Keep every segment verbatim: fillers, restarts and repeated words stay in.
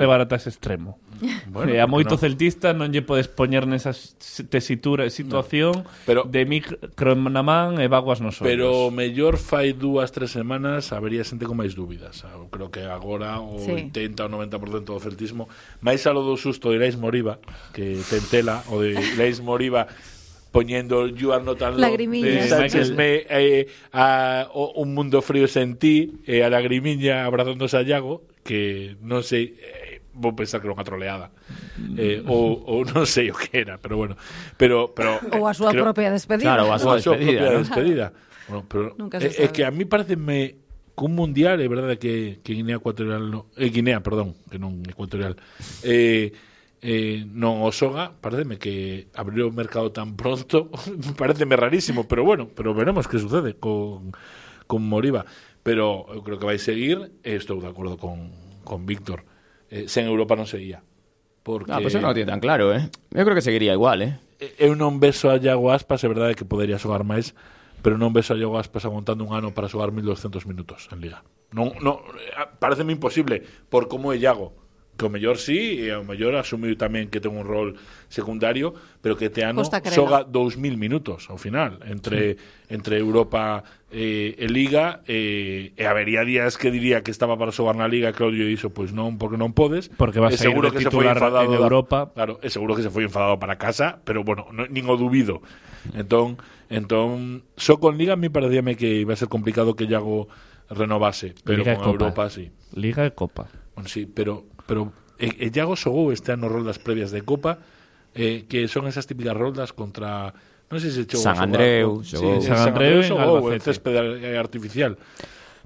levar ata ese extremo. Bueno, e a moito no. celtista non lle podes poñer nesa tesitura e situación no. pero, de micro na man e vaguas nos ollos. Pero mellor fai dúas, tres semanas habería xente con máis dúbidas. Eu creo que agora o sí. oitenta ou noventa por cento do celtismo, máis alo do susto de Leis Moriba, que tentela, o de Leis Moriba poñendo el You Are Not Alone de Sánchez me eh, a, o, un mundo frío sen ti e eh, a lagrimiña abrazándose a Iago, que non sei, eh, vou pensar que era unha troleada eh, ou, ou non sei o que era, pero bueno, pero, pero ou a súa creo, propia despedida, claro, a súa despedida, propia ¿no? despedida. Bueno, pero é eh, que a mí pareceme que un mundial, é verdade que, que Guinea Ecuatorial no, eh, Guinea, perdón, que non Ecuatorial eh Eh, non o xoga, pareceme que abriu o mercado tan pronto, pareceme rarísimo, pero bueno, pero veremos que sucede con, con Moriba, pero eu creo que vai seguir, e estou de acordo con, con Víctor, eh, sen Europa non seguía, porque no, pues eso non o tiene tan claro, eh? Eu creo que seguiría igual, eh? Eu non beso a Iago Aspas, é verdade que podería xogar máis, pero non beso a Iago Aspas aguantando un ano para xogar mil doscientos minutos en Liga. Non, non, pareceme imposible por como é Iago, que o mellor sí, e o mellor asumiu tamén que ten un rol secundario, pero que este ano xoga dous mil minutos ao final, entre sí. entre Europa e, e Liga, e, e habería días que diría que estaba para xogar na Liga, Claudio dixo, pois non, porque non podes, porque vas a ir de titular en Europa. Da, claro, é seguro que se foi enfadado para casa, pero bueno, no, nin o dubido. Entón, entón, só con Liga a mí parecíame que iba a ser complicado que Iago renovase, pero Liga con Europa sí. Liga e Copa. Bueno, sí, pero pero e, e Iago xogou este ano roldas previas de Copa, eh, que son esas típicas roldas contra, non sei se xogou San Andreu, xogou sí, San Andreu xogou en césped artificial.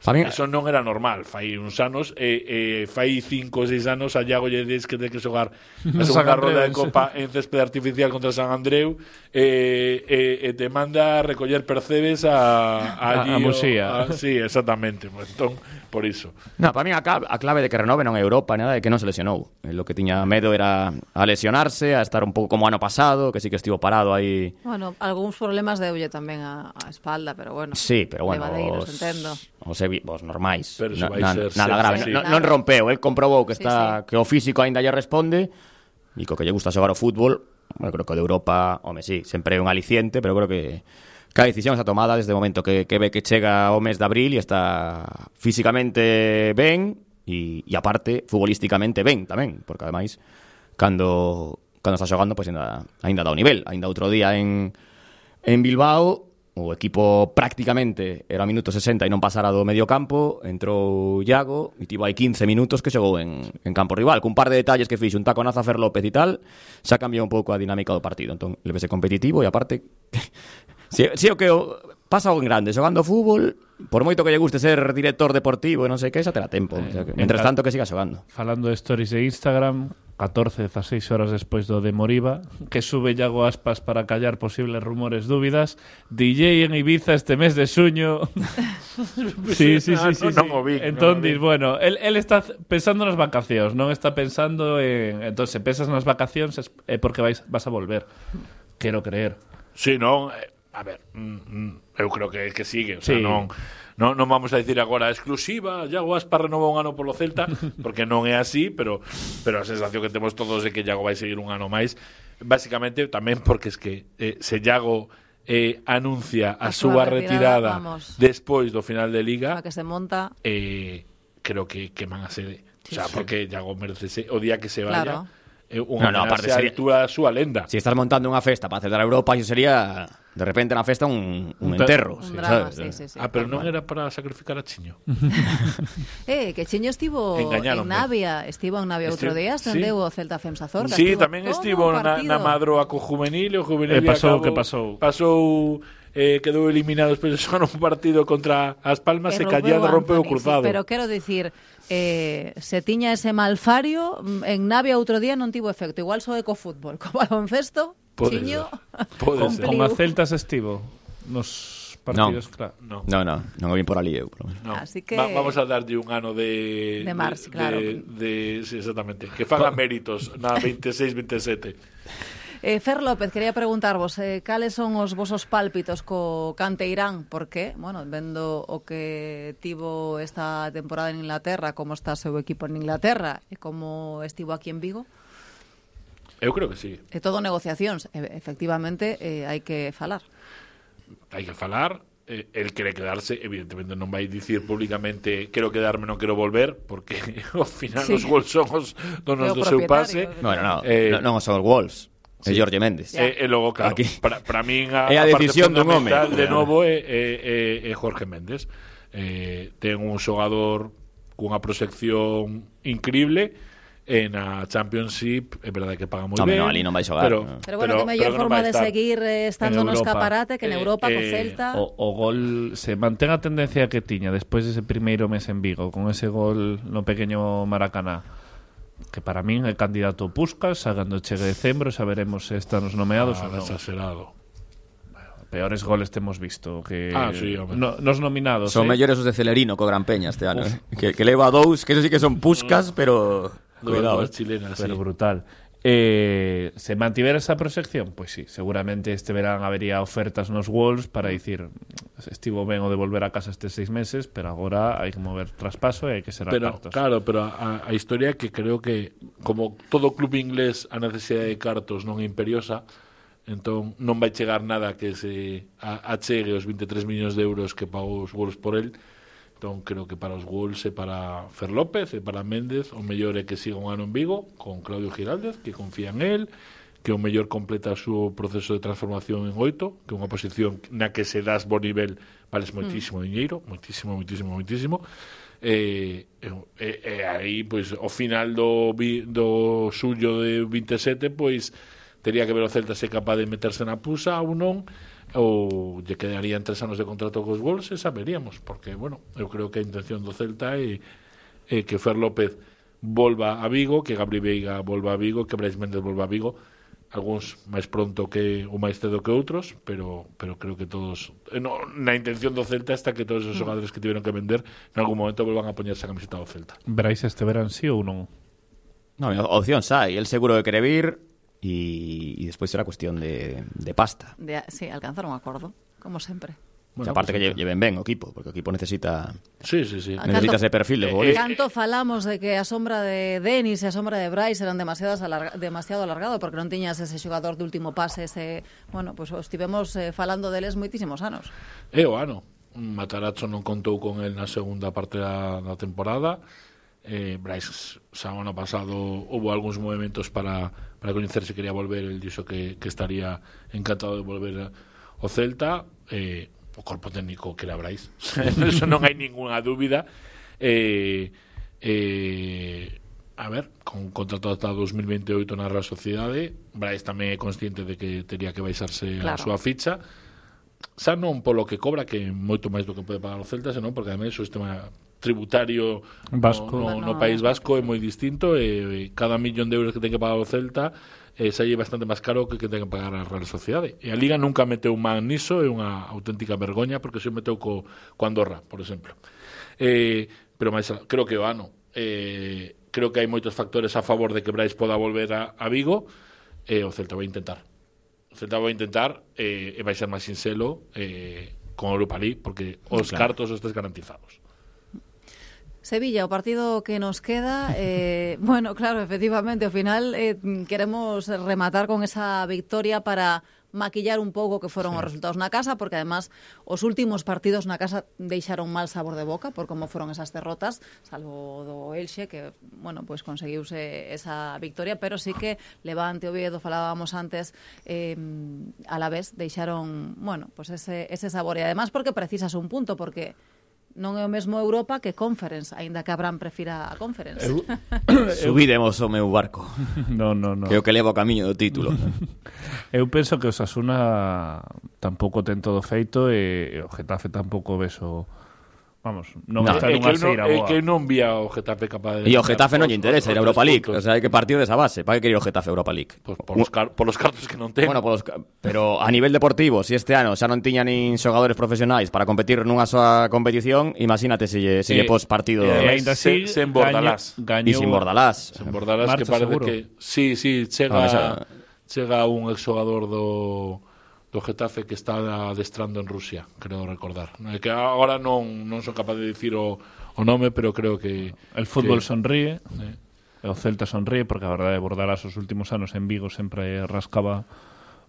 Famín... Eso non era normal, fai uns anos e eh, eh, fai cinco ou seis anos a Iago lle diz que ten que xogar a segunda rolda de Copa en césped artificial contra San Andreu e eh, eh, te manda a recoller percebes a a, a, a Musía. Sí, exactamente, entón, por iso. No, para mí a clave, a clave de que renove non é Europa, nada, é que non se lesionou. Lo que tiña medo era a lesionarse, a estar un pouco como ano pasado, que sí que estivo parado aí. Bueno, algúns problemas deulle tamén a, a espalda, pero bueno. Sí, pero bueno, os, entendo. Os vos normais, pero no, vai na, ser, nada ser, grave, sí. non, non rompeu, el comprobou que está sí, sí. que o físico aínda lle responde e co que lle gusta xogar o fútbol. Bueno, creo que o de Europa, home, sí, sempre é un aliciente, pero creo que cada decisión está tomada desde o momento que, que ve que chega o mes de abril e está físicamente ben e, e aparte, futbolísticamente ben tamén, porque ademais cando, cando está xogando, pois pues, ainda, ainda dá o nivel. Ainda outro día en, en Bilbao o equipo prácticamente era minuto sesenta e non pasara do medio campo, entrou Iago e tivo aí quince minutos que xogou en, en campo rival, cun par de detalles que fixo un taconazo a Fer López e tal, xa cambiou un pouco a dinámica do partido. Entón, levese competitivo e aparte si, si o que o, pasa o en grande, xogando fútbol, por moito que lle guste ser director deportivo e non sei que, xa terá tempo, eh, o sea, que, mentres tanto que siga xogando. Falando de stories de Instagram, catorce, dieciséis horas despois do de Moriba, que sube Iago Aspas para callar posibles rumores, dúbidas, D J en Ibiza este mes de xuño. sí, sí, sí, sí, sí. No, no vi, entón, no dis, bueno, él, él está pensando nas vacacións, non está pensando en... Entón, se pensas nas vacacións é porque vais, vas a volver. Quero creer. Sí, non... A ver, mm, eu creo que que sigue, o sea, sí. non, non non vamos a dicir agora exclusiva, Iago Aspas renova un ano polo Celta, porque non é así, pero pero a sensación que temos todos é que Iago vai seguir un ano máis, basicamente tamén porque es que eh, se Iago eh, anuncia a, a súa retirada, retirada despois do final de Liga, a que se monta, eh, creo que que man a ser, sí, o sea, sí. porque Iago merece o día que se vaya. Claro. Eh, unha no, no, aparte sería a súa lenda. Si estás montando unha festa para celebrar Europa, iso sería de repente na festa un, un enterro, un sí, drama, ¿sabes? Sí, sí, sí. Ah, pero non era para sacrificar a Chiño. eh, que Chiño estivo en Navia, estivo en Navia outro día, estendeu sí. o Celta Femsa Zorca. Sí, tamén estivo na, na Madroa co juvenil, o juvenil eh, pasou acabou, que pasou. Pasou eh, quedou eliminado despois de xogar un partido contra As Palmas e Callado rompeu o cruzado. Sí, pero quero dicir, eh, se tiña ese malfario, en Navia outro día non tivo efecto, igual só eco fútbol, co baloncesto, Chiño. Con, con a Celtas estivo nos partidos, no. claro. No, no, no, non o vin por ali eu. No. Así que Va, vamos a darlle un ano de de Mars, de, claro. De, de, sí, exactamente, que faga méritos na veintiséis veintisiete. Eh, Fer López, quería preguntarvos eh, cales son os vosos pálpitos co Canteirán, porque, bueno, vendo o que tivo esta temporada en Inglaterra, como está o seu equipo en Inglaterra e como estivo aquí en Vigo. Eu creo que sí. É todo negociacións, e, efectivamente eh, hai que falar. Hai que falar. Eh, el quere quedarse, evidentemente non vai dicir públicamente quero quedarme, non quero volver, porque ao final sí. Os Wolves son os donos do seu pase. Bueno, no, eh, non, non son os Wolves, sí. É Jorge Méndez. E eh, eh, logo, claro, para, para min a, é a, a decisión dun home. De novo é, é, é, é Jorge Méndez. Eh, ten un xogador cunha proxección increíble. E na Championship é verdade que paga moi no, ben. No, ali non vai xogar. Pero, no. pero bueno, pero, que mellor forma de seguir eh, estando no escaparate que en Europa, eh, co Celta. O, o gol se mantén a tendencia que tiña despois dese primeiro mes en Vigo, con ese gol no pequeño Maracaná, que para min é candidato Puskás, cando chegue decembro xa veremos se están os nomeados ah, ou non. Exagerado. Peores goles temos visto que ah, sí, no, nos nominados son eh? mellores os de Celerino co Gran Peña este ano, eh? que, que leva dous, que eso sí que son Puskás, pero cuidado, chilenas, pero sí. brutal. Eh, se mantivera esa proxección, pois pues sí, seguramente este verán habería ofertas nos Wolves para dicir estivo ben o de volver a casa estes seis meses, pero agora hai que mover traspaso e hai que ser pero, cartos. Claro, pero a, a historia que creo que como todo club inglés a necesidade de cartos non é imperiosa, entón non vai chegar nada que se achegue os veintitrés millóns de euros que pagou os Wolves por el. Entón creo que para os Wolves e para Fer López e para Méndez o mellor é que siga un ano en Vigo con Claudio Giraldez, que confía en él, que o mellor completa o seu proceso de transformación en oito, que é unha posición na que se das bo nivel vales moitísimo mm. diñeiro, moitísimo, moitísimo, moitísimo. E, e, e aí, pois, ao final do, do xullo de veintisiete, pois, tería que ver o Celta se capaz de meterse na pusa ou non, ou lle quedarían tres anos de contrato cos Wolves e saberíamos, porque, bueno, eu creo que a intención do Celta é, é que Fer López volva a Vigo, que Gabri Veiga volva a Vigo, que Brais Méndez volva a Vigo, algúns máis pronto que ou máis cedo que outros, pero pero creo que todos, no, na intención do Celta está que todos os xogadores que tiveron que vender en algún momento volvan a poñerse a camiseta do Celta. Brais este verán sí ou non? No, opción sai, el seguro de quere vir. Y, y despois será cuestión de, de pasta. De, sí, alcanzar un acordo, como sempre. Bueno, o sea, aparte pues, que lleven ben o equipo, porque o equipo necesita sí, sí, sí. necesita ese perfil de futbolista. Canto falamos de que a sombra de Denis e a sombra de Brais eran demasiadas alarga, demasiado alargado porque non tiñas ese xogador de último pase, ese, bueno, pues estivemos eh, falando deles moitísimos anos. É o ano. Matarazzo non contou con el na segunda parte da, da temporada. Eh, Brais xa o ano pasado houve algúns movimentos para, para coñecer se quería volver, el dixo que, que estaría encantado de volver ao Celta. eh, o corpo técnico que era Brais eso non hai ninguna dúbida. eh, eh, a ver, con contrato ata dos mil veintioito na Real Sociedade, Brais tamén é consciente de que tería que baixarse claro. A súa ficha, xa non polo que cobra, que é moito máis do que pode pagar o Celta, senón porque ademais o sistema tributario vasco. No, no, no País Vasco é moi distinto e, e cada millón de euros que ten que pagar o Celta eh, xa é bastante máis caro que que ten que pagar a Real Sociedade. E a Liga nunca meteu man niso, é unha auténtica vergoña porque se meteu co, co Andorra, por exemplo. Eh, pero máis, creo que o ano eh, creo que hai moitos factores a favor de que Brais poda volver a, a Vigo e eh, o Celta vai intentar. O Celta vai intentar eh, e vai ser máis sinxelo eh, con Europa League porque os claro. cartos os tes garantizados. Sevilla, o partido que nos queda, eh, bueno, claro, efectivamente, ao final eh, queremos rematar con esa victoria para maquillar un pouco que foron sí. Os resultados na casa, porque además os últimos partidos na casa deixaron mal sabor de boca por como foron esas derrotas, salvo do Elxe, que, bueno, pues conseguiuse esa victoria, pero sí que Levante, Oviedo, falábamos antes, eh, a la vez deixaron, bueno, pues ese, ese sabor, e además porque precisas un punto, porque non é o mesmo Europa que Conference, aínda que Abraham prefira a Conference. Eu, subidemos o meu barco. No, no, no. Que é o que leva o camiño do título. Eu penso que o Osasuna tampouco ten todo feito e o Getafe tampouco beso. Vamos, non no, está nunha seira boa. É que non vía o Getafe capaz de... E o Getafe non lle interesa ir a Europa League. O sea, hai que partir desa base. Para que querer o Getafe a Europa League? Pues por, los car por los cartos que non ten. Bueno, por los, pero a nivel deportivo, se si este ano xa non tiña nin xogadores profesionais para competir nunha soa competición, imagínate se lle, se lle eh, pos partido... E eh, ainda así, sen Bordalás. E sin Bordalás. Sen Bordalás, que parece seguro. Que... Sí, sí, chega... No, esa... chega un exxogador do do Getafe que está adestrando en Rusia, creo recordar. É que agora non non son capaz de dicir o, o nome, pero creo que el fútbol que, sonríe, eh. o Celta sonríe, porque a verdade é Bordalás os últimos anos en Vigo sempre rascaba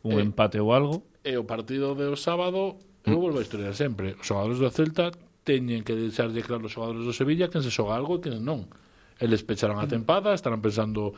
un eh, empate ou algo. E o partido do sábado, eu volvo a historiar sempre, os xogadores do Celta teñen que deixarlle claro os xogadores do Sevilla quen se xoga algo e quen non. Eles pecharon a tempada, estarán pensando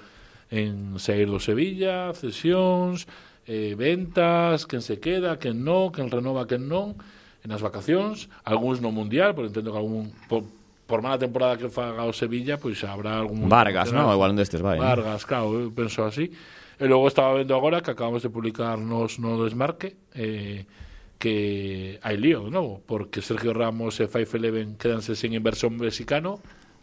en sair do Sevilla, cesións, eh, ventas, quen se queda, quen non, quen renova, quen non, en as vacacións, algúns no Mundial, porque entendo que algún por, por mala temporada que faga o Sevilla, pois pues, habrá algún Vargas, ¿no? Igual un destes vai. Vargas, ¿no? Claro, eu penso así. E logo estaba vendo agora que acabamos de publicar nos no Desmarque eh, que hai lío de novo, porque Sergio Ramos e Five Eleven quedanse sin inversión mexicano.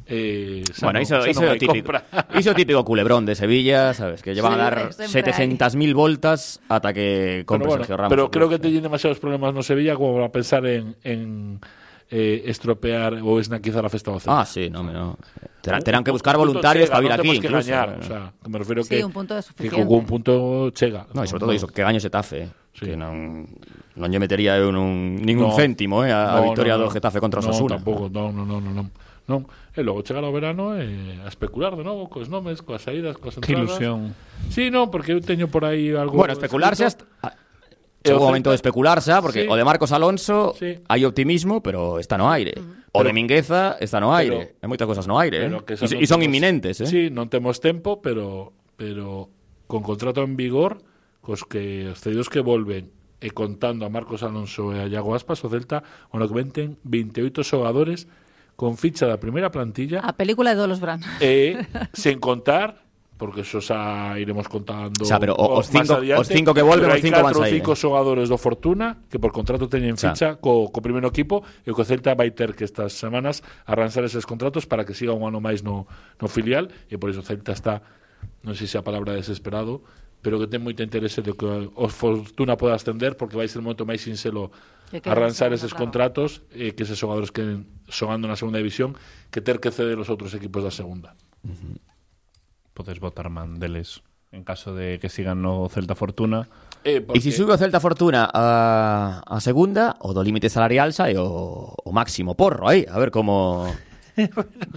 Eh, bueno, iso, no, iso, no típico, iso típico culebrón de Sevilla, sabes, que llevan sí, a dar setecientas mil voltas ata que compre bueno, Sergio Ramos. Pero creo que teñen demasiados problemas no Sevilla como para pensar en, en eh, estropear ou esnaquizar a festa do Celta. Ah, sí, no, no. Terán, terán que buscar voluntarios para vir aquí, que incluso. Gañar, o sea, que me refiero sí, que, un punto de que con un punto chega. No, e sobre todo iso, que gaño Xetafe, sí. Que non non lle metería eu nun, ningún no, céntimo eh, a, no, a victoria no, no, do Getafe contra o no, Osasuna. Tampouco, no, no, no, no, no. Non, e logo chegar ao verano e a especular de novo cos nomes, coas saídas, coas entradas. Que ilusión. Sí, non, porque eu teño por aí algo. Bueno, especularse hasta chegou o momento de especularse, porque sí. O de Marcos Alonso sí. Hai optimismo, pero está no aire. Uh-huh. O pero, de Mingueza está no aire. Hai moitas cosas no aire, eh? E son, son inminentes, eh? Sí, non temos tempo, pero pero con contrato en vigor, cos que os cedidos que volven e contando a Marcos Alonso e a Iago Aspas, o Celta, ono que venten veintioito xogadores con ficha da primeira plantilla. A película de Dolos Bran. E, sen contar, porque eso xa iremos contando o sea, pero os cinco, adiante, os cinco que volven, os cinco van a sair. Hai catro ou cinco xogadores do Fortuna que por contrato teñen ficha o sea. co, co primeiro equipo e o que o Celta vai ter que estas semanas arranxar eses contratos para que siga un ano máis no, no filial e por iso o Celta está, non sei se a palabra desesperado, pero que ten moito interese de que o Fortuna poda ascender porque vai ser un momento máis sinxelo arranxar eses claro. contratos e que eses xogadores que xogando na segunda división que ter que ceder os outros equipos da segunda. Uh-huh. Podes botar man deles en caso de que sigan no Celta Fortuna. E porque... se si sube o Celta Fortuna a, a segunda, o do límite salarial xa é o, o máximo porro aí, a ver como...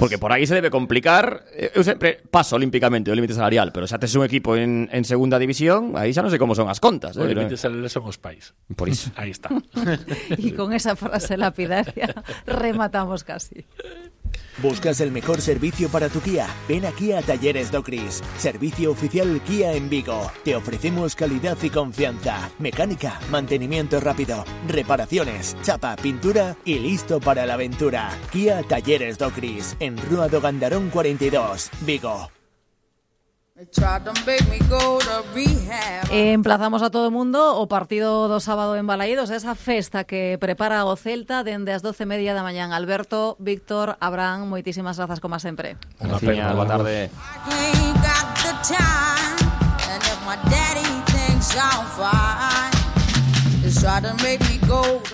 Porque por aí se debe complicar. Eu sempre paso olímpicamente o límite salarial, pero xa tes un equipo en, en segunda división, aí xa non sei como son as contas. O eh, límite salarial son os pais. Por iso. Aí está. Y con esa frase lapidaria rematamos casi. ¿Buscas el mejor servicio para tu Kia? Ven aquí a Talleres Docris, servicio oficial Kia en Vigo. Te ofrecemos calidad y confianza, mecánica, mantenimiento rápido, reparaciones, chapa, pintura y listo para la aventura. Kia Talleres Docris, en Rúa do Gandarón cuarenta y dos, Vigo. Emplazamos a todo o mundo o partido do sábado en Balaídos, esa festa que prepara o Celta dende as doce e media da mañán. Alberto, Víctor, Abraham, moitísimas grazas como sempre. Unha pena, boa tarde.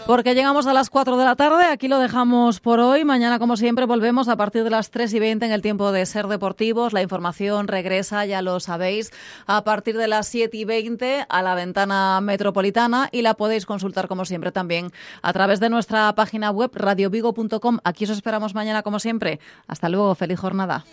Porque llegamos a las cuatro de la tarde, aquí lo dejamos por hoy. Mañana, como siempre, volvemos a partir de las tres y veinte en el tiempo de Ser Deportivos. La información regresa, ya lo sabéis, a partir de las siete y veinte a la ventana metropolitana y la podéis consultar, como siempre, también a través de nuestra página web radio vigo punto com. Aquí os esperamos mañana, como siempre. Hasta luego, feliz jornada.